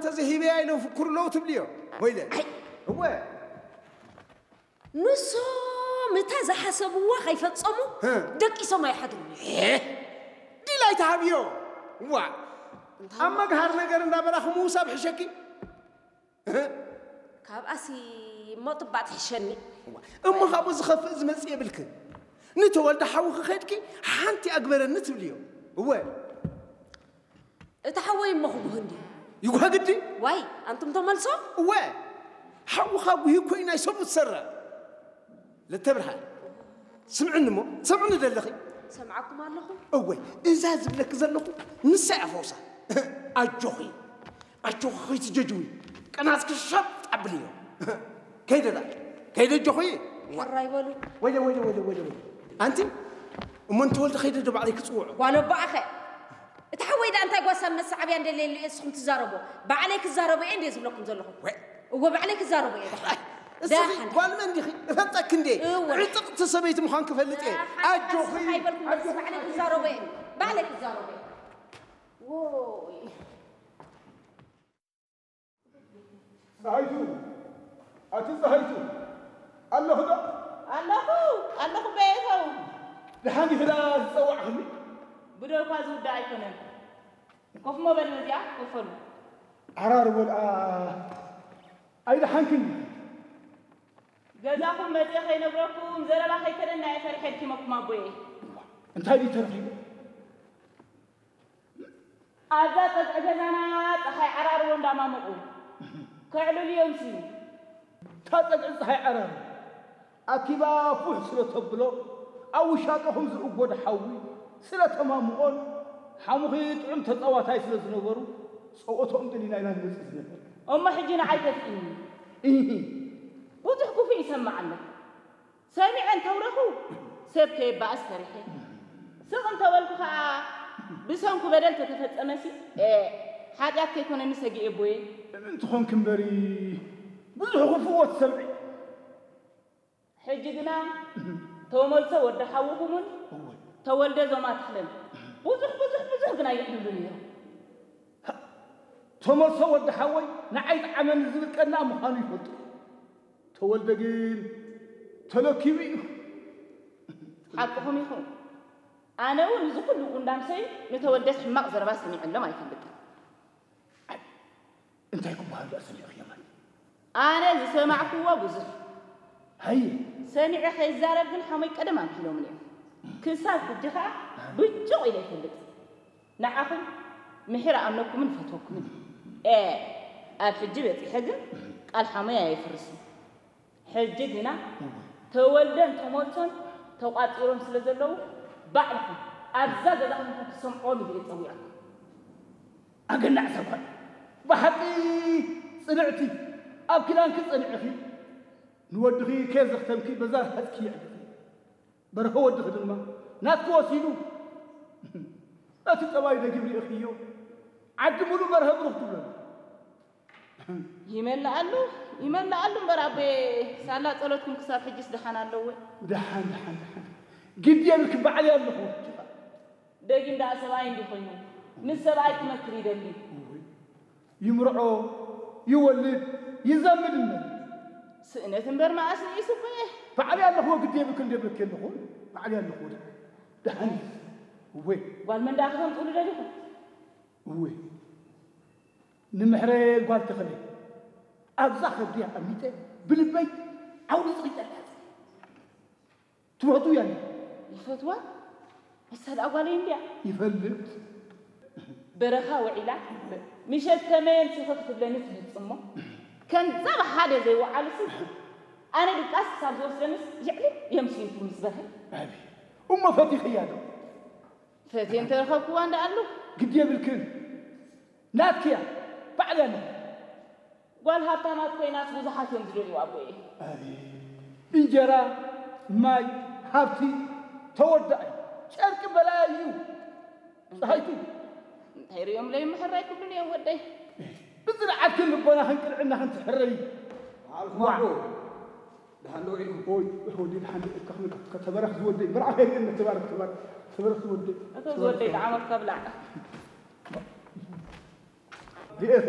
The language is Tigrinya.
ተዘሂበያ ኢሎም ፍኩሩ ኣለዉ ትብልዮ? ወይለ። ኣይ። እወ። ንሶም እታ ዝሓሰብዋ ከይፈጸሙ ህ። ደቂሶም ኣይሓድሩን። ሄ! ዲላይ ተሃብዮ። ዋ። እንታይ ኣብ መግሃር ነገር እንዳበላኹ ምውሳብ ሕሸኪ። ህ። ካብኣሲ እሞ ጥባጥ ሕሸኒ። ዋ። እሞ ካብኡ ዝኸፍእ ዝመጽእ የብልክን። ንተወልደ ሓውኺ ከድኪ ሓንቲ ኣግበረኒ ትብልዮ። እወ። እቲ ሓወይ እሞ ክጉህ እንድዩ። ይጉሃ ግዲ? ዋይ፣ ኣንቱም ተመልሶ? እወ፣ ሓውኻ ጉሂ እኮ እዩ ናይ ሰብኡት ሰራ። ለተብርሃን፣ ስምዕኒ እሞ፣ ሰምዕኒ ደለኺ? ሰምዓኩም ኣለኹ። እወ፣ እዛ ዝብለኪ ዘለኹ ንሳ እያ ፈውሳ። ኣጆኺ፣ ኣጆኺ ከይትጀጅዊ፣ ቅናትኪ ሸጥ ኣብልዮ። ከይደ ዳ፣ ከይደ ኣጆኺ። ሕራይ በሉ። ወይለ፣ ወይለ፣ ወይለ፣ ወይለ፣ ወይለ። ኣንቲ፣ እሞ ንተወልደ ከይደ ዶ ባዕለይ ክጽውዖ? ጓል ኣቦኣኸ። እቲ ሓወይ ደኣ እንታይ ጓሳ መሰዓብያ እንደሌሉ እየ ንስኹም ትዛረቡ? ባዕለይ ክዛረቦ እየ እንድየ ዝብለኩም ዘለኹ። ወይ። እወ፣ ባዕለይ ክዛረቦ እየ። ደሓን። እስኺ ደሓን። ጓል መን ዲኺ? እፈልጠኪ እንድየ። እወ። ዕጥቕቲ ሰበይቲ ምዃን ክፈልጥ እየ። ደሓን። ኣጆኺ። እስኺ ኣይበልኩም፣ ኣጆኺ። ባዕለይ ክዛረቦ እየ። ባዕለይ ክዛረቦ እየ። ዎይ። ጸሃይቱ፣ ኣቲ ጸሃይቱ፣ ኣለኹ ዶ? ኣለኹ፣ ኣለኹ በየተው። ደሓን ዲኺ ደኣ ዝጸዋዕኽኒ? ብደውካ ዝውዳእ ኣይኮነን። ኮፍ እሞ በል፣ ነዚኣ ኮፍ በሉ። ዓራርቦ ደኣ ኣይደሓንክን ዲኺ? ገዛኹም መጺኤ ከይነግረኩም፣ ዘረባ ከይከደና እየ ፈሪሐ ድኪመኩም ኣቦየ። እንታይ ድዩ ተረኺቡ? ኣብዛ ጸግዒ ገዛና ጸሓይ ዓራርቦ እንዳማመቑ ከዕልሉ እዮም ስዩ። እታ ጸግዒ ጸሓይ ዓራርቦ ኣኪባ ፉሕ ስለ ተብሎ፣ ኣብ ውሻጠኹም ዝእጎድ ሓዊ ስለ ተማምቖን፣ ሓሙኺ ጥዑም ተጻዋታይ ስለ ዝነበሩ፣ ጸወትኦም ደሊና ኢና ንመጽእ ዝነበር። እሞ ሕጂ ንዓይ ተትእኒ። ኢሂ። ብዙሕ ክፉእ ይሰምዕ ኣሎ። ሰሚዐ እንተውረኹ፣ ሰብ ከየባእስ ፈሪሐ። ስቕ እንተበልኩ ኸኣ፣ ብሰንኩ በደል ተተፈጸመሲ፣ ኤ፣ ሓጢኣት ከይኮነኒ ሰጊኤ ኣቦየ። ምእንቲ ኾንኪ እምበሪ፣ ብዙሕ ክፉእ ትሰምዒ። ሕጂ ግና፣ ተመልሶ ወዲ ሓውኹምን እወ። ተወልደ ዞማ ተኽለን ብዙሕ፣ ብዙሕ፣ ብዙሕ ግና ይዕልሉ ነይሮም። ተመልሶ ወዲ ሓወይ ንዓይ ጠዓመኒ ዝብል ቀናእ ምዃኑ ይፈልጡ። ተወልደ ግን ተለኪቡ እዩ። ሓቅኹም ኢኹም። ኣነ እውን እዚ ኩሉ ጉንዳምሰይ ንተወልደስ ሕማቕ ዘረባ ሰሚዐሎም ኣይፈልጥን። እንታይ ክበሃል ደኣ ሰሚዕኽዮ ማለት? ኣነ ዝሰማዕክዎ ብዙሕ። ሃየ። ሰሚዐ ከይዛረብ ግን ሓሞይ ቀደም ኣምሒሎምኒ እዮም። ክሳብ ሕጂ ኸኣ ብጭቕ ኢለ ይፈልጥ። ንዓኹም ምሒር ኣምነኩምን ፈትወኩምን። ኤ፣ ኣብ ሕጂ በጺሐ ግን ቃል ሓሞይ ኣየፍርስን። ሕጂ ግና እወ። ተወልደን ተመልሶን ተቋጺሮም ስለ ዘለዉ፣ ባዕልኹም ኣብዛ ገዛ ኮንኩም ክትሰምዕዎም ኢለ እየ ጸዊዐኩም። ኣገናዕ እዛ ጓል፣ ብሓቂ ጽንዕቲ፣ ኣብ ኪዳንኪ ጸኒዕኺ፣ ንወድኺ ከየዘኽተምኪ በዛ ረሃጽኪ የዕግቲ። በርሀ ወድኺ ድማ ናትኪ ወሲዱ፣ ነቲ ጠባዩ ደጊም ርኢኽዮ፣ ዓዲ ሙሉእ በርሀ ብሩኽ ትብለሉ። ይመልኣሉ፣ ይመልኣሉ እምበር ኣቦየ፣ ሳላ ጸሎትኩም ክሳብ ሕጅስ ደሓን ኣለዎ። ደሓን፣ ደሓን፣ ደሓን። ግዲ የብልኪ፣ ባዕለይ ኣለኹ። ደጊም ደኣ ሰብኣይ እንዲ ኮይኑ፣ ምስ ሰብኣይ ክመክር ይደሊ። እውይ፣ ይምርዖ፣ ይወልድ፣ ይዘምድ እምበር። ስእነት እምበር መኣስ ንኢሱ እኮ እየ። ባዕለይ ኣለኹ፣ ግዲ የብልኪ፣ እንደ ብልኪ ኣለኹ። ባዕለይ ኣለኹ። ደሓን። እወ። ጓል መን ደኣ ክተምጽኡሉ ደሊኹም? እወ። ንምሕረ ጓል ተኸለ ኣብዛ ከብዲ ኣቐሚጠ ብልበይ ዓውዲ ጽቒጠላ። ትፈቱ እያ እንዲ? ይፈትዋ? ንሳ ደኣ ጓለይ እንድያ። ይፈልጥ። በረኻ ውዒላ ምሸት ከመየን ስኽኽ ትብለኒ ትመጽእ እሞ፣ ከምዛ ብሓደ ዘይወዓሉሲ፣ ኣነ ድቃስ ክሳብ ዝወስደንስ ይዕልል የምስሊቱ ምስ በርሀ። ኣቢ፣ እሞ ፈቲኽያ ዶ? ፈትየ እንተረኸብክዋ እንዳ ኣሉ። ግዲ የብልክን። ናትኪ እያ። ባዕለይ ኣለኹ። ጓል ሃብታማት ኮይናስ ብዙሓት እዮም ዝደልዩ ኣቦየ። ኣቤት። እንጀራ፣ ማይ፣ ሃብቲ፣ ተወዳኢ፣ ጨርቂ በላያ እዩ። ጸሃይቱ። እንታይ ርእዮም ለይምሕራይ ክብሉን እዮም ወደይ። ብጽንዓትክን ልቦናኽን ቅንዕናኽን ትሕረይ። በዓልኩም ኣቦ። ደሓን ዶ ውዒልኩም? ኦይ፣ ወዲ ደሓን ዶ ኢልካ ክትብል ከተባረኽ ዝወደይ። መርዓ ከይርእየኒ ተባረኽ፣ ተባረኽ፣ ተባረኽ ዝወደይ። እቶ ዝወደይ ጣዕሞት ከብላዕ። ርእየኺ?